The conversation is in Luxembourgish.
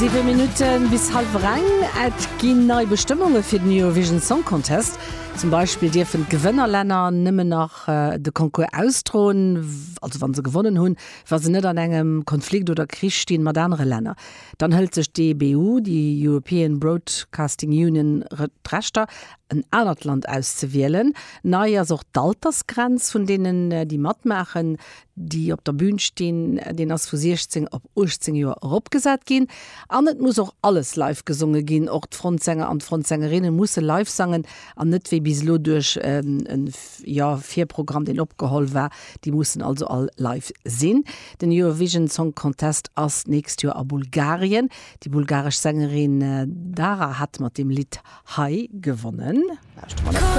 7 Minutte bis hallwer eng. Et ginn nei Bestëmmunge fir den Eurovision Song Contest. Zum Beispill dierfen d'Gewënnerlänner nëmmen nach de Concours ausdroen, also wa se gewonnen hunn, wa se net an engem Konflikt oder Krich stinn mat anere Länner. Dann hëlt sech d'EBU, déi European Broadcasting Union, d'Rechter, en anert Land auszewielen. Nei ass och d'Altersgrenz vun deenen, déi matmaachen. déi op der Bühn stinn, deen ass vu 16 op 18 Joer eropgesat ginn. An et muss och alles live gesonge ginn, och d'Frontsänger an d'Frontsängerinne musse live sangen an net wéi bis elo duerch e jo Virprogramm, deen opgeholl war. Déi mussen also all live sinn. Den Eurovision Song Contest ass d'nächst Joer a Bulgarien. Déi bulgaresch Sängerin Dara hat mat deem Lidd hei gewonnen. Lauschte mer dat.